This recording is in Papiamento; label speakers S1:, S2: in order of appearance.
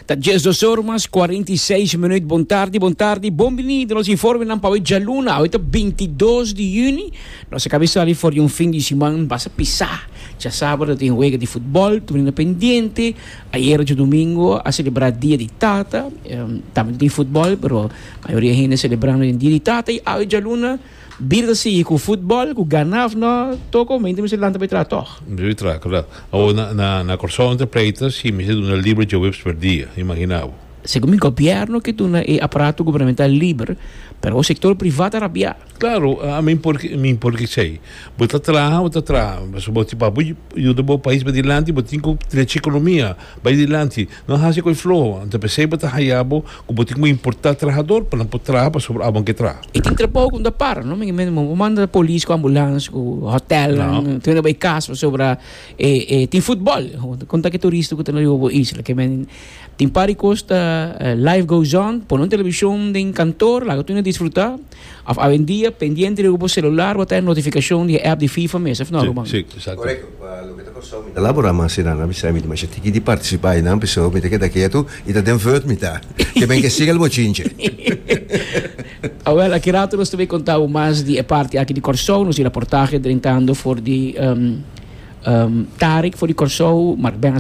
S1: Ta 12 or mas 46 minuut. Bon tardi, bon tardi, bon bini den nos informenan pa awe djaluna. Awe ta 22 di juni. Nos a kabi sali for di un fin di siman basta pisá. Djasabra tin wega di futbòl, tur hende pendiente. Ayera djadumingu a selebrá Dia di Tata. Tambe tin futbòl, pero mayoria hende selebrando den Dia di Tata. I awe djaluna bida ta sigui ku futbòl, ku gana òf no toko, mente mester lanta bai traha tòg.
S2: Mester bai traha, kla. Awor na Kòrsou nan ta pleita si mester duna liber djaweps per dia, imagina bo.
S1: Segun mi gobièrnu ke duna e aparato gubernamental liber, pero sektor privá ta rabiá.
S2: Claro, ami por mi por esey. Bo ta traha, bo ta traha. Pasobra bo tin pa bo yuda bo pais bai dilanti, bo tin ku drecha ekonomia bai dilanti. No hasi ku e floho. Anto p'esey bo ta haya bo ku bo tin ku importá trahador pa nan por traha pasobra abo ke traha.
S1: E tin trabou ku no ta para, no? Mi bo manda polis ku ambulans ku hotelnan, tur hende bai kas pasobra e e tin futbòl. Kon ta ke turista ku ta na riba bo isla? Ke men tin par di kos ta life goes on. Pone un televishon den kantor, laga tur hende disfrutá. Of awendia pendiente riba bo celular bo ta e notificacion di e app di FIFA mes, of no Ruman?
S2: Sí, exacto.
S3: Correcto, pa loke ta Kòrsou mi ta labora mas einan, a bisa mi ta masha tiki di participa einan, pesó mi ta keda ketu i ta den vurt mi ta, ke men ke siga el bochinche.
S1: Awel, aki rato nos ta bay conta bo mas di e parti aki di Kòrsou, nos di raportahe drentando for di Tarik for di Kòrsou, Mark Benz.